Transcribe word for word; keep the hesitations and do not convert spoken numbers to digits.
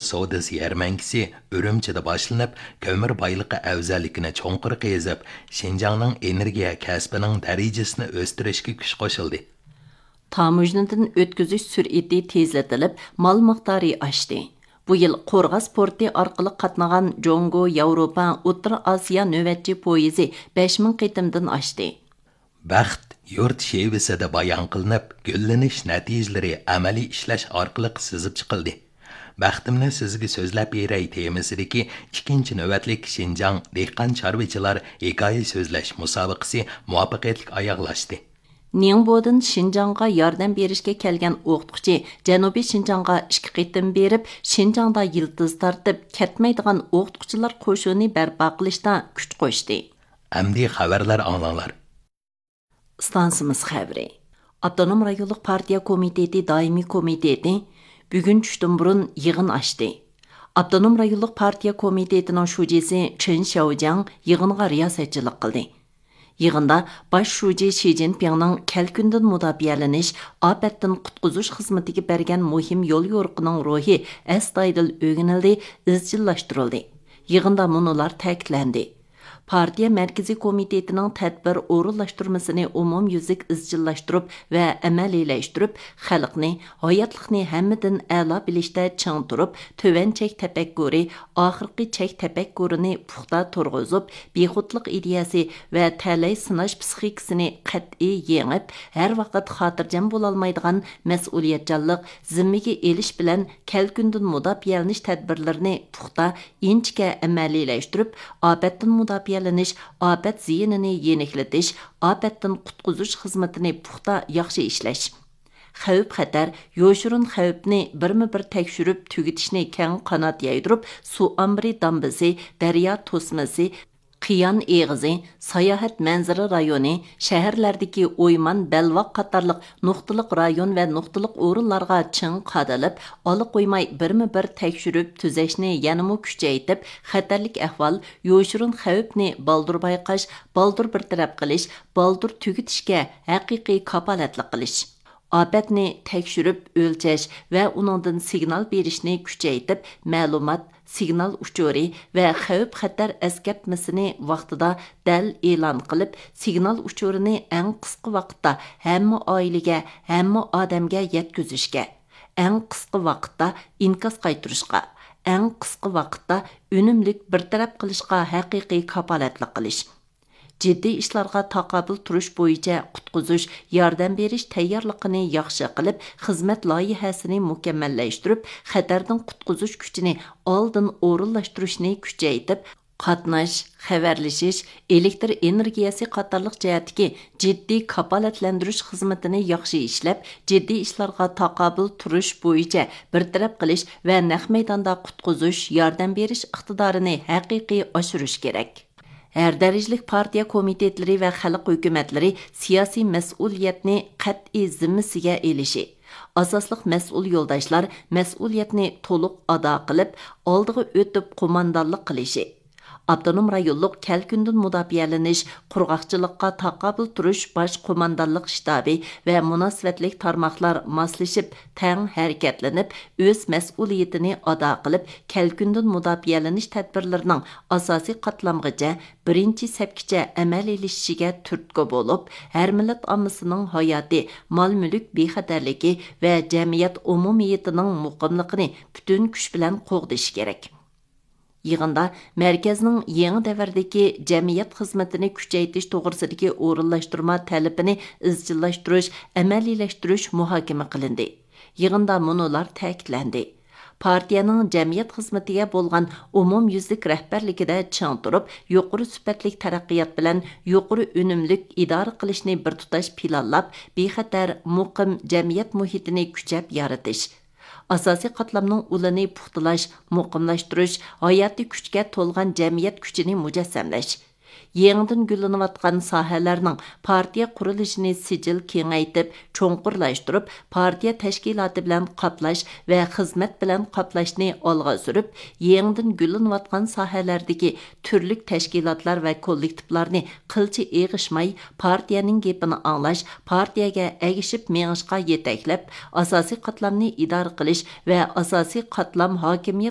سودىسى يەرمەنكىسى ئۈرۈمچىدە باشلىنىپ، كۆمۈر بايلىقى ئەۋزەللىكىنى چوڭقۇر قېزىپ، شىنجاڭنىڭ ئېنېرگىيە كەسپىنىڭ دەرىجىسىنى ئۆستۈرۈشكە كۈچ قوشۇلدى. تاموژنىدىن ئۆتكۈزۈش سۈرئىتى تېزلىتىلىپ، مال مىقدارى ئاشتى. بۇ يىل قورغاس پورتى ئارقىلىق قاتنىغان جۇڭگو، ياۋروپا، ئوتتۇرا ئاسىيا نۆۋەتچى پويىزى بەش مىڭ قېتىمدىن ئاشتى. بەخت يۇرت شېۋىسىدە بايان قىلىنىپ، گۈللىنىش نەتىجىلىرى ئەمەلىي ئىشلەش ئارقىلىق سىزىپ چىقىلدى. بەختىمنى سىزگە سۆزلەپ بېرەي تېمىسىدىكى ئىككىنچى نۆۋەتلىك شىنجاڭ دېھقان چارۋىچىلار ھېكايە سۆزلەش مۇسابىقىسى مۇۋەپپەقىيەتلىك ئاياغلاشتى. نىڭبودىن شىنجاڭغا ياردەم بېرىشكە كەلگەن ئوقۇتقۇچى جەنۇبىي شىنجاڭغا ئىككى قېتىم بېرىپ، شىنجاڭدا يىلتىز تارتىپ، كەتمەيدىغان ئوقۇتقۇچىلار قوشۇنى بەرپا قىلىشتا كۈچ قوشتى. ئەمدى خەۋەرلەر ئاڭلاڭلار. ئىستانسىمىز خەۋىرى. ئاپتونوم رايونلۇق پارتىيە كومىتېتى دائىمىي كومىتېتى بۈگۈن چۈشتىن بۇرۇن يىغىن ئاچتى. ئاپتونوم رايونلۇق پارتىيە كومىتېتىنىڭ شۇجىسى چېن شياۋجياڭ يىغىنغا رىياسەتچىلىك قىلدى. يىغىندا باش شۇجى شى جىنپىڭنىڭ كەلكۈندىن مۇداپىئەلىنىش، ئاپەتتىن قۇتقۇزۇش خىزمىتىگە بەرگەن مۇھىم يوليورۇقىنىڭ روھى ئەستايىدىل ئۆگىنىلدى، ئىزچىللاشتۇرۇلدى. يىغىندا مۇنۇلار تەكىتلەندى. پارتىيە مەركىزىي كومىتېتىنىڭ تەدبىر ئورۇنلاشتۇرمىسىنى ئومۇميۈزلۈك ئىزچىللاشتۇرۇپ ۋە ئەمەلىيلەشتۈرۈپ، خەلقنى، ھاياتلىقنى ھەممىدىن ئەلا بىلىشتە چىڭ تۇرۇپ، تۆۋەن چەك تەپەككۇرى، ئاخىرقى چەك تەپەككۇرىنى پۇختا تۇرغۇزۇپ، بىخۇدلۇق ئىدىيەسى ۋە تەلەي سىناش پىسخىكىسىنى قەتئىي يېڭىپ، ھەر ۋاقىت خاتىرجەم بولالمايدىغان مەسئۇلىيەتچانلىق، زىممىگە ئېلىش بىلەن كەلكۈندىن مۇداپىئەلىنىش تەدبىرلىرىنى پۇختا، ئىنچىكە ئەمەلىيلەشتۈرۈپ، ئاپەتتىن مۇداپىئەلىنىش، ئاپەت زىيىنىنى يېنىكلىتىش، ئاپەتتىن قۇتقۇزۇش خىزمىتىنى پۇختا، ياخشى ئىشلەش. خەۋپ-خەتەر، يوشۇرۇن خەۋپنى بىرمۇ بىر تەكشۈرۈپ تۈگىتىشنى كەڭ قانات يايدۇرۇپ، سۇ ئامبىرى دامبىسى، دەريا توسمىسى، قىيان ئېغىزى، ساياھەت مەنزىرە رايونى، شەھەرلەردىكى ئويمان، بەلباغ قاتارلىق نۇقتىلىق رايون ۋە نۇقتىلىق ئورۇنلارغا چىڭ قادىلىپ، ئالا قويماي بىرمۇ بىر تەكشۈرۈپ تۈزەشنى يەنىمۇ كۈچەيتىپ، خەتەرلىك ئەھۋال، يوشۇرۇن خەۋپنى بالدۇر بايقاش، بالدۇر بىر تەرەپ قىلىش، بالدۇر تۈگىتىشكە ھەقىقىي كاپالەتلىك قىلىش. ئاپەتنى تەكشۈرۈپ ئۆلچەش ۋە ئۇنىڭدىن سىگنال بېرىشنى كۈچەيتىپ، مەلۇمات، سىگنال ئۇچۇرى ۋە خەۋپ-خەتەر ئەسكەرتمىسىنى ۋاقتىدا دەل ئېلان قىلىپ، سىگنال ئۇچۇرىنى ئەڭ قىسقا ۋاقىتتا ھەممە ئائىلىگە، ھەممە ئادەمگە يەتكۈزۈشكە، ئەڭ قىسقا ۋاقىتتا ئىنكاس قايتۇرۇشقا، ئەڭ قىسقا ۋاقىتتا ئۈنۈملۈك بىر تەرەپ قىلىشقا ھەقىقىي كاپالەتلىك قىلىش. جىددىي ئىشلارغا تاقابىل تۇرۇش بويىچە قۇتقۇزۇش، ياردەم بېرىش تەييارلىقىنى ياخشى قىلىپ، خىزمەت لايىھەسىنى مۇكەممەللەشتۈرۈپ، خەتەردىن قۇتقۇزۇش كۈچىنى ئالدىن ئورۇنلاشتۇرۇشنى كۈچەيتىپ، قاتناش، خەۋەرلىشىش، ئېلېكتر ئېنېرگىيەسى قاتارلىق جەھەتتىكى جىددىي كاپالەتلەندۈرۈش خىزمىتىنى ياخشى ئىشلەپ، جىددىي ئىشلارغا تاقابىل تۇرۇش بويىچە بىر تەرەپ قىلىش ۋە نەق مەيداندا قۇتقۇزۇش، ياردەم بېرىش ئىقتىدارىنى ھەقىقىي ئاشۇرۇش كېرەك. ھەر دەرىجىلىك پارتىيە كومىتېتلىرى ۋە خەلق ھۆكۈمەتلىرى سىياسىي مەسئۇلىيەتنى قەتئىي زىممىسىگە ئېلىشى، ئاساسلىق مەسئۇل يولداشلار مەسئۇلىيەتنى تولۇق ئادا قىلىپ، ئالدىغا ئۆتۈپ قوماندانلىق قىلىشى، ئاپتونوم رايونلۇق كەلكۈندىن مۇداپىئەلىنىش، قۇرغاقچىلىققا تاقابىل تۇرۇش باش قوماندانلىق شتابى ۋە مۇناسىۋەتلىك تارماقلار ماسلىشىپ، تەڭ ھەرىكەتلىنىپ، ئۆز مەسئۇلىيىتىنى ئادا قىلىپ، كەلكۈندىن مۇداپىئەلىنىش تەدبىرلىرىنىڭ ئاساسىي قاتلامغىچە، بىرىنچى سەپكىچە ئەمەلىيلىشىشىگە تۈرتكە بولۇپ، ھەر مىللەت ئاممىسىنىڭ ھاياتى، مال-مۈلۈك بىخەتەرلىكى ۋە جەمئىيەت ئومۇمىيىتىنىڭ مۇقىملىقىنى پۈتۈن كۈچ بىلەن قوغدىشى كېرەك. يىغىندا مەركەزنىڭ يېڭى دەۋردىكى جەمئىيەت خىزمىتىنى كۈچەيتىش توغرىسىدىكى ئورۇنلاشتۇرما تەلىپىنى ئىزچىللاشتۇرۇش، ئەمەلىيلەشتۈرۈش مۇھاكىمە قىلىندى. يىغىندا مۇنۇلار تەكىتلەندى: پارتىيەنىڭ جەمئىيەت خىزمىتىگە بولغان ئومۇميۈزلۈك رەھبەرلىكىدە چىڭ تۇرۇپ، يۇقىرى سۈپەتلىك تەرەققىيات بىلەن يۇقىرى ئۈنۈملۈك ئىدارە قىلىشنى بىر تۇتاش پىلانلاپ، بىخەتەر، مۇقىم جەمئىيەت مۇھىتىنى كۈچەپ يارىتىش، ئاساسىي قاتلامنىڭ ئۇلىنى پۇختىلاش، مۇقىملاشتۇرۇش، ھاياتىي كۈچكە تولغان جەمئىيەت كۈچىنى مۇجەسسەملەش، يېڭىدىن گۈللىنىۋاتقان ساھەلەرنىڭ پارتىيە قۇرۇلۇشىنى سىجىل كېڭەيتىپ، چوڭقۇرلاشتۇرۇپ، پارتىيە تەشكىلاتى بىلەن قاپلاش ۋە خىزمەت بىلەن قاپلاشنى ئالغا سۈرۈپ، يېڭىدىن گۈللىنىۋاتقان ساھەلەردىكى تۈرلۈك تەشكىلاتلار ۋە كوللېكتىپلارنى قىلچە ئېغىشماي، پارتىيەنىڭ گېپىنى ئاڭلاش، پارتىيەگە ئەگىشىپ مېڭىشقا يېتەكلەپ، ئاساسىي قاتلامنى ئىدارە قىلىش ۋە ئاساسىي قاتلام ھاكىمىيەت